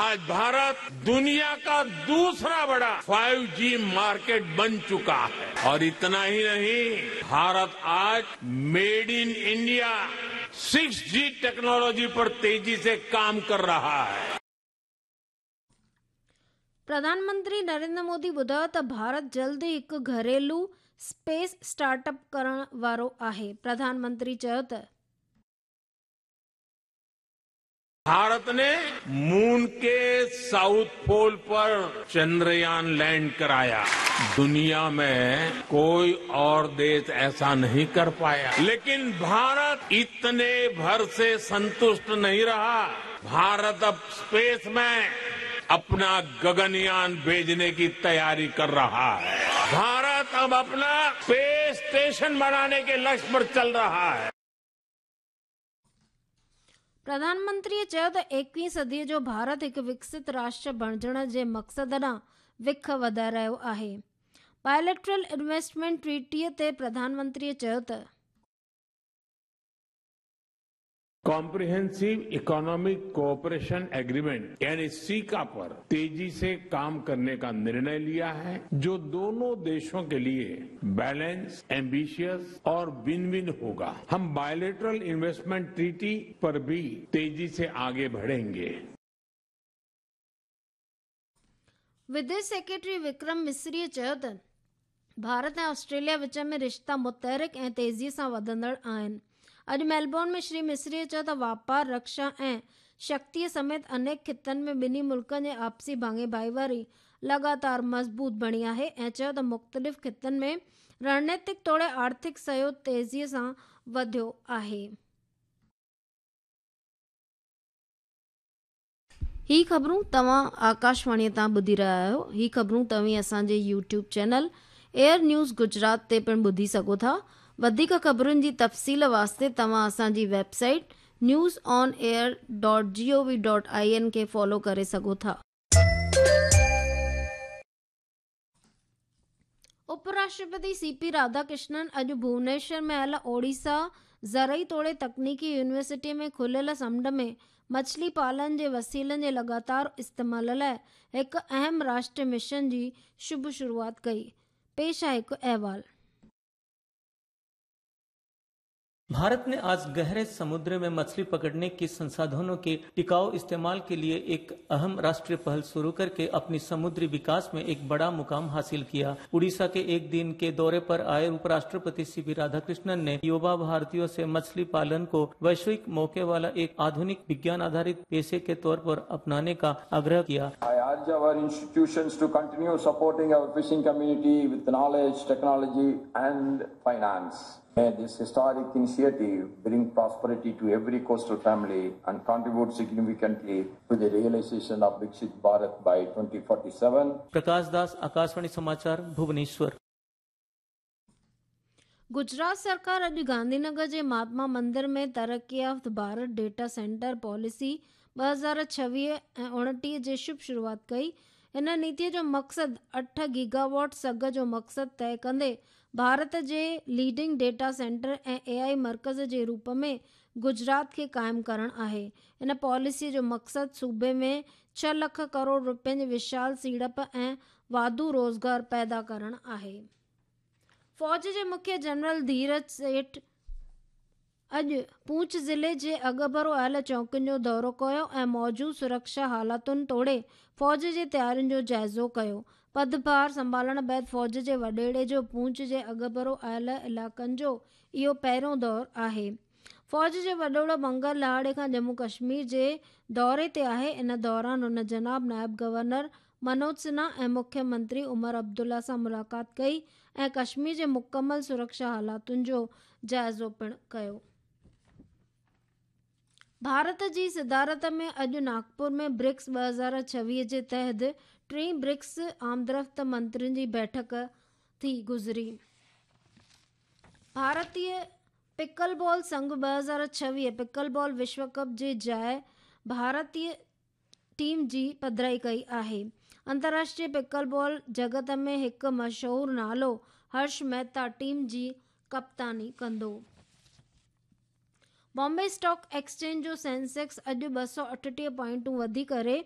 आज भारत दुनिया का दूसरा बड़ा 5G मार्केट बन चुका है और इतना ही नहीं, भारत आज made in India 6G technology पर तेजी से काम कर रहा है। प्रधानमंत्री नरेंद्र मोदी ॿुधायो त भारत जल्द ई हिकु घरेलू स्पेस स्टार्टअप करण वारो आहे। प्रधानमंत्री चयो त भारत ने मून के साउथ पोल पर चंद्रयान लैंड कराया। दुनिया में कोई और देश ऐसा नहीं कर पाया, लेकिन भारत इतने भर से संतुष्ट नहीं रहा। भारत अब स्पेस में अपना गगनयान भेजने की तैयारी कर रहा है। भारत अब अपना स्पेस स्टेशन बनाने के लक्ष्य पर चल रहा है। प्रधानमंत्रीअ चयो त एकवीं सदीअ जो भारत हिकु विकसित राष्ट्र बणिजण जे मक़सद ॾांहुं विख वधाए रहियो आहे। बायलैटरल इन्वेस्टमेंट ट्रीटीअ ते प्रधानमंत्रीअ चयो त कॉम्प्रिहेंसिव इकोनॉमिक कोऑपरेशन एग्रीमेंट यानी सीका पर तेजी से काम करने का निर्णय लिया है, जो दोनों देशों के लिए बैलेंस, एम्बिशियस और विन विन होगा। हम बायलैटरल इन्वेस्टमेंट ट्रीटी पर भी तेजी से आगे बढ़ेंगे। विदेश सेक्रेटरी विक्रम मिस्रीअ चयो त भारत ऐं ऑस्ट्रेलिया विच में रिश्ता मुतहरिक ऐं तेज़ीअ सां वधंदड़ आहिनि। अॼु मेलबोर्न में श्री मिस्रीअ चयो त वापार, रक्षा ऐं शक्तीअ समेत अनेक ख़ितनि में ॿिन्ही मुल्कनि जे आपसी भाङे भाईवारी लगातार मज़बूत बणी आहे ऐं चयो त मुख़्तलिफ़ ख़ितनि में रणनीतिक तोड़े आर्थिक सहयोग तेज़ीअ सां वधियो आहे। ही ख़बरूं तव्हां आकाशवाणीअ तां ॿुधी रहिया आहियो। ही ख़बरूं तव्हीं असांजे YouTube channel air news Gujarat ते पिणु ॿुधी सघो था। वधीक ख़बरुनि जी तफ़सील वास्ते तव्हां असांजी वेबसाइट newsonair.gov.in खे फॉलो करे सघो था। उपराष्ट्रपति सीपी राधाकृष्णन अॼु भुवनेश्वर में आयल ओडिशा ज़रई तोड़े तकनीकी यूनिवर्सिटीअ में खुलियल समुंड में मछली पालन जे वसीलनि जे लगातार इस्तेमाल लाइ हिकु अहम राष्ट्रीय मिशन जी शुभ शुरूआत कई। पेश आहे हिकु अहवाल। भारत ने आज गहरे समुद्र में मछली पकड़ने के संसाधनों के टिकाऊ इस्तेमाल के लिए एक अहम राष्ट्रीय पहल शुरू करके अपनी समुद्री विकास में एक बड़ा मुकाम हासिल किया। उड़ीसा के एक दिन के दौरे पर आए उपराष्ट्रपति सीपी राधाकृष्णन ने युवा भारतीयों से मछली पालन को वैश्विक मौके वाला एक आधुनिक विज्ञान आधारित पेशे के तौर पर अपनाने का आग्रह किया। I urge our institutions to continue supporting our fishing community with knowledge, technology and finance. May this historic initiative bring prosperity to every coastal family and contribute significantly to the realization of Viksit Bharat by 2047. Prakash Das, Akashvani समाचार, भुवनेश्वर। गुजरात सरकार अॼु गांधीनगर जे महात्मा मंदिर में तरक्की याफ़्त Bharat data centre policy 2026 ऐं 29 जी शुभ शुरूआत कई। हिन नीतीअ जो मक़सदु 8 गीगावॉट सघ जो मक़सदु तय कंदे भारत जे लीडिंग डेटा सेंटर ऐं एआई मर्कज़ जे रूप में गुजरात खे क़ाइमु करणु आहे। इन पॉलिसीअ जो मक़सदु सूबे में 6 लख करोड़ रुपयनि जी विशाल सीड़प ऐं वाधू रोज़गार पैदा करणु आहे। फ़ौज जे मुख्य जनरल धीरज सेठ अॼु पूंछ ज़िले जे अॻभरो आयल चौकियुनि जो दौरो कयो ऐं मौजूदु सुरक्षा हालातुनि तोड़े फ़ौज जे तयारियुनि जो जाइज़ो कयो। पदभार संभालण बाद फ़ौज जे वॾेरे जो पूंछ जे अॻभरो आयल इलाइक़नि जो इहो पहिरियों दौर आहे। फ़ौज जो वॾेड़ो मंगल ॾिहाड़े खां जम्मू कश्मीर जे दौरे ते आहे। इन दौरान हुन जनाब नायब गवर्नर मनोज सिन्हा ऐं मुख्यमंत्री उमर अब्दुल्ला सां मुलाक़ात कई ऐं कश्मीर जे मुकमल सुरक्षा हालातुनि जो जाइज़ो पिणु कयो। भारत जी सदारत में अॼु नागपुर में ब्रिक्स 2026 जे तहत टीं ब्रिक्स आमदरफ़्त मंत्रियुनि जी बैठक थी गुज़री। भारतीय पिकल बॉल संघ 2026 पिकल बॉल विश्व कप जे जाइ भारतीय टीम जी पधराई कई आहे। अंतर्राष्ट्रीय पिकल बॉल जगत में हिकु मशहूर नालो हर्ष मेहता टीम जी कप्तानी कंदो। बॉम्बे स्टॉक एक्सचेंज जो सेंसेक्स अॼु 238 पॉइंटूं वधी करे